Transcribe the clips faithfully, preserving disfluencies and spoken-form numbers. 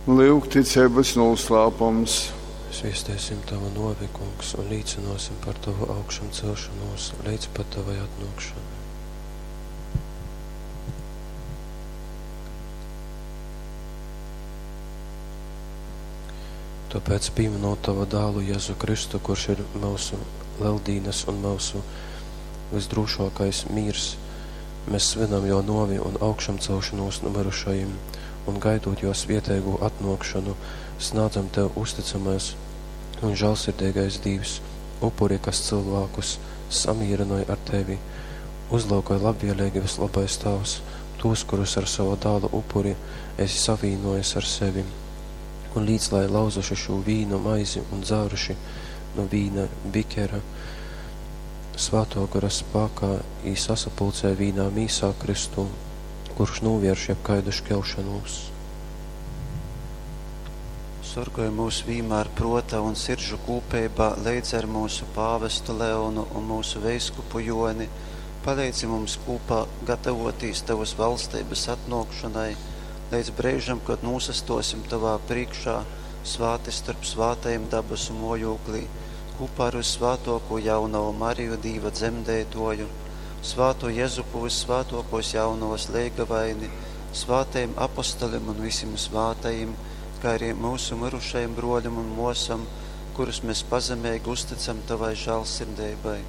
Lyugticeibys nūslāpums. Sviesteisim Tovu nuovi, Kungs, un līcynuosim par Tovu augšamceļšonūs leidz pat Tovai atnuokšonai. Tōpēc, pīminūt Tova Dālu Jezu Kristu, kurš ir myusu Leldīnas un myusu vysdrūšōkais mīrs, mes svynam Jō nōvi un augšamceļšonūs nu myrušajim un, gaidūt Jō svieteigu atnōkšonu, snādzam Tev, uztycamais un žālsirdeigais Dīvs, upuri, kas cylvākus samīrynoj ar Tevi. Uzlyukoj labvieleigi, vyslobais Tāvs, tūs, kurus ar sova Dāla upuri esi savīnōjis ar sevi. Un līc, lai lauzuši šū vīnu maizi un dzāruši nu vīna bikera, Svātō Gora spākā jī sasapulcej vīnā mīsā Kristū, kurš nūvērš jebkaidu škelšonūs. Sorgoj myus vīmār prōta un siržu kūpeibā leidza ar myusu pāvestu Leonu un myusu veiskupu Jōni, paleidzi mums kūpā gatavōtīs tovas vaļsteibas atnōkšonai, leidz breižam, kod nūsastōsim tovā prīškā svāti storp svātajim dabasu mōjūklī, kūpā ar vyssvātōkū jaunovu Mariju, Dīva dzemdeitōju, svātū Jezupu, vyssvātōkōs jaunovas leigavaini, svātajim apostolim un vysim svātajim, kai arī myusu myrušajim brōlim un mōsom, kurus mes pazemeigi uztycam tovai žāļsirdeibai.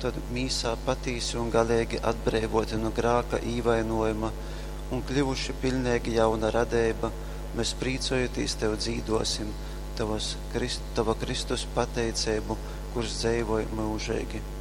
Tod, mīsā patīsi un galeigi atbreivōti nu grāka īvainōjuma un kļyvuši piļneigi jauna radeiba, mes prīcojūtīs tev dzīdōsim tovas, tova Kristus pateiceibu, kurs dzeivoj myužeigi.